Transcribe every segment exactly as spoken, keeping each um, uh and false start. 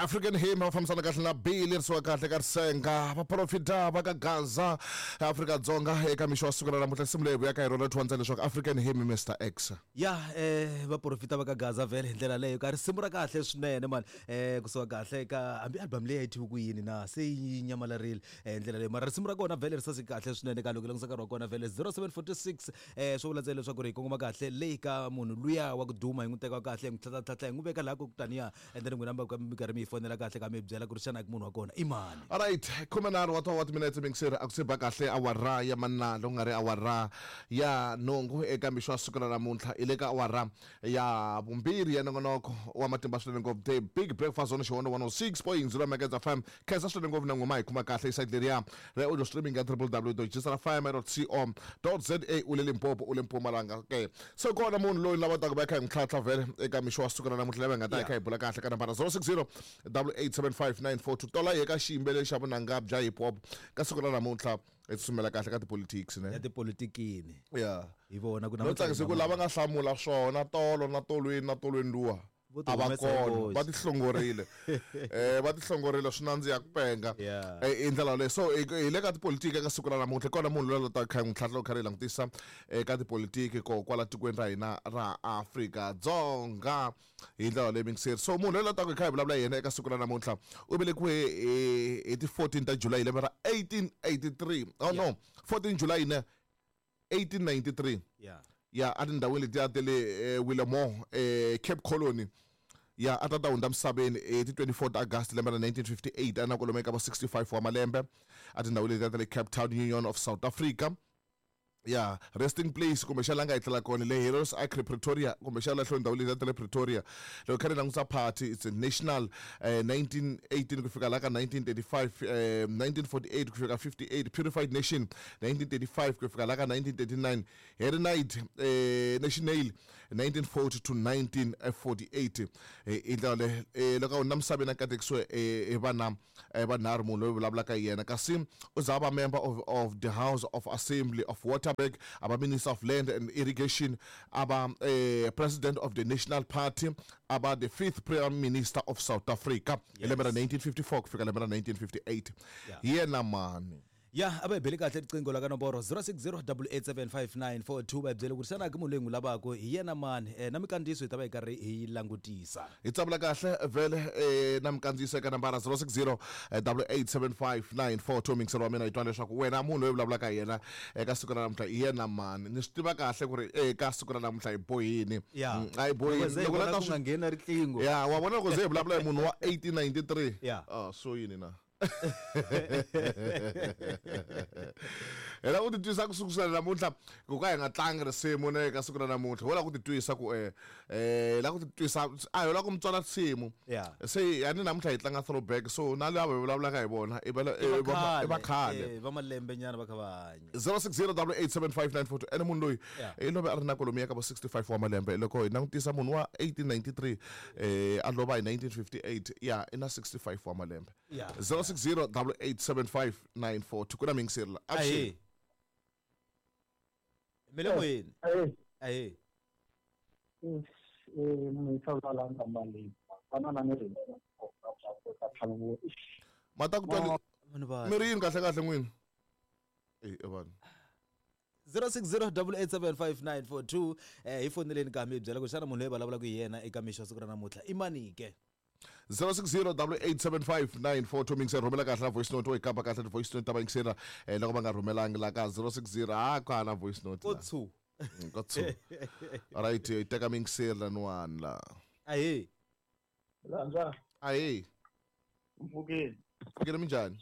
African Hymn va fambisana kahle na Billy risiwa kahle ka Risenga vaprofita va ka Gaza Afrika-Dzonga eka mixo wa siku ra namuntlha nsimu leyi vuyaka hi rona twandza leswaku African Hymn Mister X ya eh vaprofita va ka Gaza vhele hi ndlela leyo ka risimu ra kahle swinene mani eh kusuka kahle ka hambi album leyi a yi thyiwe ku yini na se yi nyamalarile eh ndlela leyo mara risimu ra kona vhele ri saseke kahle swinene ka loko langutisa nkarhi wa kona vhele zero seven forty six eh swo vula ntsena leswaku ri hi kongoma kahle leyi ka munhu luya wa ku duma hi n'wi teka kahle hi n'wi tlhatlhatlhatlha hi n'wi veka laha ku taniya and then n'wina mi karhi mi yi fonela kahle ka mi byela ku ri xana munhu wa kona i mani. Alright, khumenharhu wa wa timinetse mingiseri a ku se ba kahle awara ya manalo ku nga ri awara ya nhungu eka mixo wa siku ra namuntlha i le ka awara ya vumbirhi ya nongonoko wa matimba swinene ngopfu the big breakfast on Xihondo one oh six point zero Megahertz F M. Khensa swinene ngopfu na n'wina hi kuma kahle isite leriya ra audio streaming ya w w w dot g s r f m dot co dot z a u le Limpopo u le Mpumalanga ke so kona munhu loyi lava taka va kha hi n'wi tlhantlha vhele eka mixo wa siku ra namuntlha lava hi nga ta hi kha hi bula kahle ka nambara zero six zero double eight seven five nine four two tola hi ka xiyimbeleri xa vunanga bya hip hop ka siku ra namuntlha hi tsutsumela kahle ka tipolitics ne ya tipolitikini ya hi vona ku no tsakisa ku lava nga hlamula swona tolo na tolweni na tolweni luwa a va kona va tihlongorile eh va tihlongorile swi nandziha ku penga i ndlela leyo so hi le ka tipolitiki eka siku ra namuntlha kona munhu loyi a ta kha n'wi tlhantlha kha ri langutisa eka tipolitiki ko kwala tikweni ra hina ra Afrika-Dzonga hi ndlela leyi mingiseri so munhu loyi a ta ku hi kha hi vulavula yena eka siku ra namuntlha u velekiwe hi ti fourteen ta July hi lembe ra eighteen eighty-three oh no fourteen July ne eighteen ninety-three yeah ya a tindhawini letiya ta le Willemore Cape Colony ya a ta ta hundza misaveni hi ti twenty-four ta August lembe ra nineteen fifty-eight a na kwalomu eka va sixty-five wa malembe a tindhawini letiya ta le Cape Town Union of South Africa ya resting place kumbexana la nga hi tlela kona le Heroes Acre Pretoria kumbexana la hlweni ndhawu leyi ta le Pretoria loko kha ri langutisa party it's a national eh, nineteen eighteen ku fika la ka nineteen thirty-five eh, nineteen forty-eight ku fika fifty-eight Purified Nation nineteen thirty-five ku fika la ka nineteen thirty-nine Harry Knight eh, National nineteen forty to nineteen forty-eight eh, i ndlela le eh, loko na misaveni a katekisiwe eh, vana eh, vanharhu munhu loyi vulavulaka hi yena kasi u za va member of, of the House of Assembly of Waterberg aba Minister of Land and Irrigation aba eh, President of the National Party aba the fifth Prime Minister of South Africa hi lembe ra nineteen fifty-four ku fika lembe ra nineteen fifty-eight yena mani ya a va hi beli kahle riqingho la ka nomboro zero six zero double eight seven five nine four two va hi byele ku ri xana ke munhu loyi n'wi lavaka hi yena mani eh, na mikandziyiso hi ta va hi karhi hi langutisa hi tsavula kahle vhele eh, na mikandziyiso eka nambara zero six zero double eight seven five nine four two mingiselo wa mina hi twa leswaku wena munhu loyi vulavulaka hi yena eka siku ra namuntlha hi yena mani ni swi tiva kahle ku ri eka siku ra namuntlha hi bohini ya a hi bohini loko la ta swi nghena riqingho ya wa vona loko ze hi vulavula hi munhu wa eighteen ninety-three ya ah so yini na hela ku titwisa ku sukusela namuntlha ku ka hi nga tlangi risimu ne ka siku ra namuntlha ho la ku titwisa ku eh eh la ku titwisa a hi la ku mutswala risimu se yani namuntlha hi tlanga throwback so na lava hi vulavulaka hi vona i va i va khale va malembe nyana va kha va hanya zero six zero double eight seven five nine four two ene munhu loyi i love a ri na kwalomu ya ka va sixty-five wa malembe loko hi langutisa munhu wa eighteen ninety-three eh a lova hi nineteen fifty-eight ya i na sixty-five wa malembe zero six zero double eight seven five nine four two kuna mingiseri la ahe mele moyeni ahe eh mata ku twa mi ri yini kahle kahle n'wini eh vanhu zero six zero double eight seven five nine four two eh hi foneleni ka mi byela ku xana munhu loyi vulavulaka hi yena eka mixo siku ra namuntlha i mani ke zero six zero double eight seven five nine four two mingiseri rhumela kahle na voice note wo yi kamba kahle ti-voice note ta vayingiseri eh, loko va nga rhumelangi la ka zero six zero a ku hana voice note ko tsu ko tsu alright hi teka mingiseri laniwani la ahe landza ahe mpfukeni mpfukeni minjhani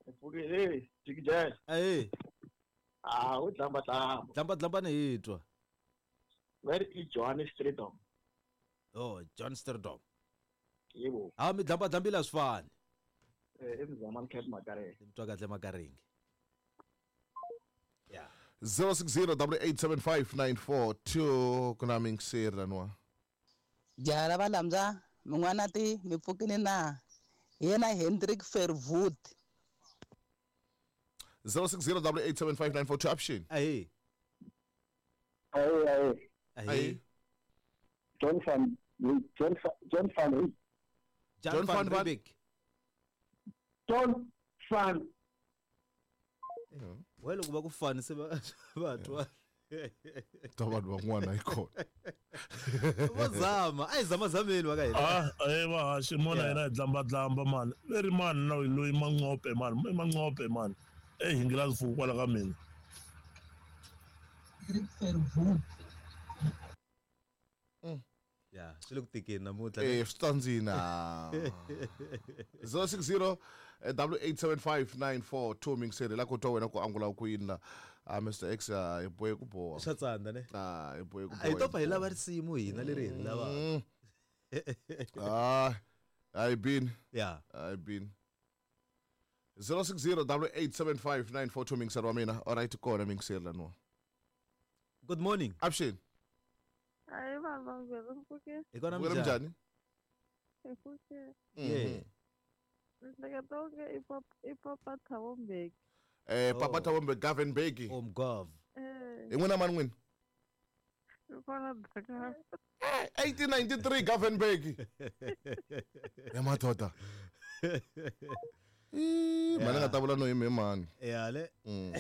mpfukeni eh jikijani ahe ah u dlamba dlamba dlamba dlamba ni hi twa where is Johannes Strijdom oh John Strijdom yebo ha mi dlamba dlambile swi fani eh i Mzamani Cat Makarenge ni twa kahle Makarenge ya zero six zero double eight seven five nine four two kuna mingiseri laniwa jara va lamza min'wana ti mi pfukini na yena Hendrik Verwoerd zero six zero double eight seven five nine four two option ahe ahe ahe ahe John van John John van Wyk Jan John van van Van- Riebeeck. John van We loko va ku fani se va va twa. Ta vanhu van'wana yi kona. Va zama, a hi zamazameni va ka hina. Ah, eh vahaxi mona Yeah. hina hi dlambadlamba mani ve ri mani na loyi manqope mani i manqope mani e hingila fuku kwala ka mina. Ya, swi le ku tikeni namuntlha. Eh swi tsandzina. zero six zero double eight seven five nine four two mingiseri la ku twa wena ku angula ku yini la. Ah Mister X ah, hi bohe ku boha. Swa tsandza ne? Ah hi bohe ku A hi boha. to pfa hi lava risimu hina leri hi ri lavaka. Mm. Ah hayi bini. Ya. Hayi bini. zero six zero double eight seven five nine four two mingiseri wa mina. All right kona mingiseri laniwa. Good morning. Avuxeni. Hayi vanhu vambirhi mpfhuke Hi kona Vuyela minjhani? minjhani? hi pfuke Yeah. ni hleketa onge i papa i papa Thabo Mbeki. Eh Papa Oh. Thabo Mbeki Govan Mbeki. Oh Mgov. Eh, Hi n'wina mani n'wina? hi kona Dakar. eighteen ninety-three Govan Mbeki. Ya madoda. Ih, mani nga ta vula no yimi hi mani. Ya le. Mm.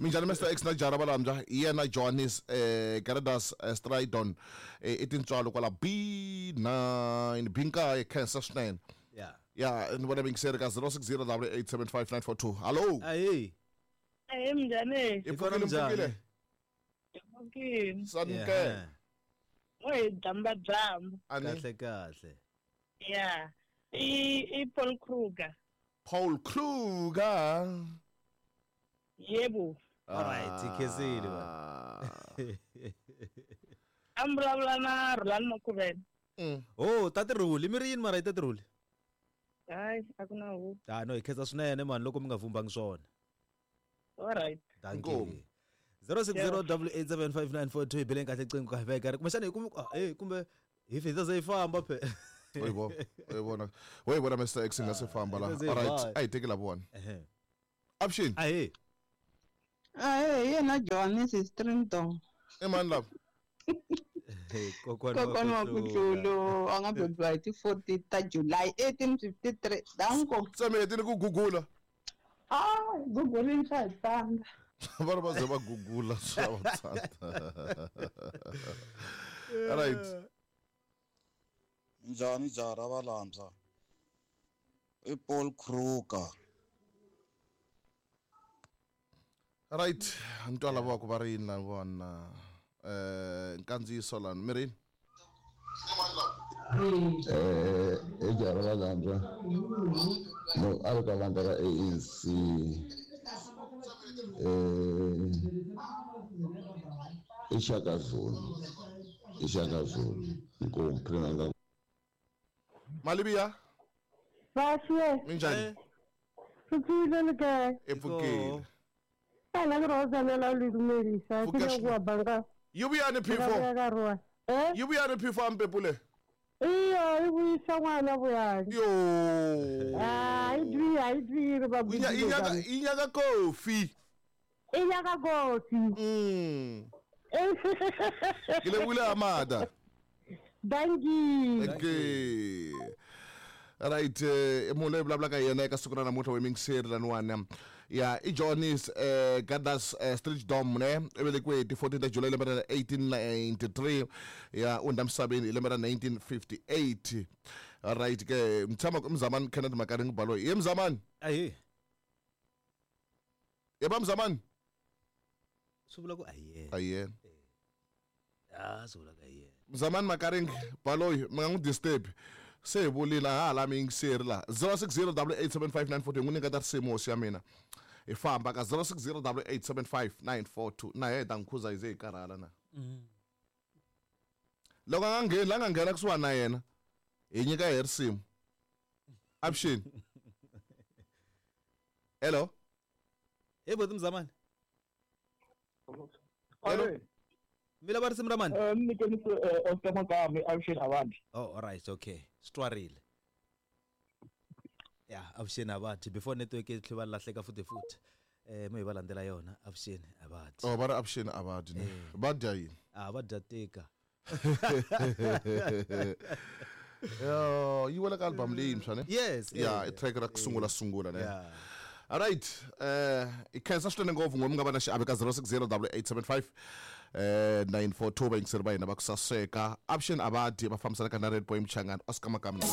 Minjhani Mister X na Jara Valambya hi yena Johannes eh Garadas eh, Stridon eh, i tintswalo kwala B nine B nkaye khensa swinene. Ya. Ya ni vona mingiseri ka zero six zero double eight seven five nine four two. Hallo. Ayi. Ahee minjhani? Hi Hi kona pfukile minjhani? mpfukile. Pfukile. Sanke. Yeah. Mo hi dlambadlamba. Ani Kahle kahle. Ya. I i Paul Kruger. Paul Kruger. Yebo. All right, khensile va. Ah. A mi vulavula na Rhulani Makhuvele. Mm. Oh, tati Rhuli, mi ri yini mara hi tati Rhuli? Hayi, a ku na huwa. Ah no, hi khensa swinene mani loko mi nga vumbangi swona. All right. Thank you. Inkomu. zero six zero double eight seven five nine four two hi beleni kahle qingo ka veka ri kumbexana hi kumi ah, eh kumbe hi fi hi ta ze hi famba phe. Uyibona, uyibona. Uyibona Mister X nga se famba la. Hi ta ze hi All right, famba. a hi teki lavona. Ehe. Avuxeni. Ahee. Ahee, hi yena Johannes Strington. I mani lava? Hey, kokwana wa Kokwana wa ku Kutlulu a nga bebiwa hi ti fourteen ta July eighteen fifty-three. Danko. Se mi hetile ku gugula. Ah, gugulini swa hi tsandza. Va ri va ze va gugula swa va tsandza. All right. Njhani Jara Valambya? I Paul Kruger. Right, ni twa lava ku va ri yini lavona. Eh nkandziyiso lani mi ri yini? Eh, i Jara Valambya loko a ri ka vandla ra A N C eh i Shaka Zulu i Shaka Zulu inkomu phela Malibiya, Vahle. minjhani? Pfukile le kae? I pfukile. Ana ke rozalela le dumedisa. Ke Pfuka le go banka. Yi vuyani P four? Ka roa. Eh? Yi vuyani P four mpepule? Iyo, i vuyisa n'wana vuyani. Yo. Ah, i dwi, i dwi re ba Yi nya- yi nyaka yi nyaka kofi. I nyaka kofi. Mm. Ke lebohile Amada. Dankie. Thank you. Right, eh munhu loyi vulavulaka hi yena eka siku ra namuntlha wa mingiseri laniwani ya i Johannes eh Gadas eh, Street Dom ne i velekiwe hi ti fourteen ta July lembe ra eighteen ninety-three ya u hundza misaveni hi lembe ra nineteen fifty-eight. Right ke mi tshama Mzamani Kenneth Makaringi Baloyi. Ye Mzamani? Ahee. Ye ba Mzamani? Swi vula ku a hi yena. A hi yena. Ah, swi vula ku a hi yena. Mzamani Makaringi Baloyi mi nga n'wi disturb. Se hi vulile ha ha la miyingiseri la zero six zero double eight seven five nine four two hi n'wi nyiketa risimu hosi ya mina hi famba ka zero six zero double eight seven five nine four two na hi ta n'wi khuza hi ze hi karhala na loko a nga ngheni la nga nghena kusuhani na yena hi nyika hi risimu avuxeni hello Hey boti Mzamani. Hello. Mi lava risimu ra mani? Eh, mi nyikeni Oscar Makame avuxeni Avandi. Oh, all right, okay. Swi twarile. Ya, avuxeni Avandi before network yi tlhe va lahleka futhi futhi. Eh mi hi va landzela yona avuxeni Avandi. Oh va ri avuxeni Avandi ne va dya yini Ah, va dya tika. Yo, yi wela ka album leyintshwa ne? Yes. Ya, eh, i track ra ku sungula sungula ne. Yeah. Alright, eh i khensa swinene ngopfu n'we mi nga va na xiave ka zero six zero double eight seven five eh nine four two vayingiseri va hina va ku saseka. Option Abadi va fambisanaka na Red Boy Mchangani, Oscar Makami na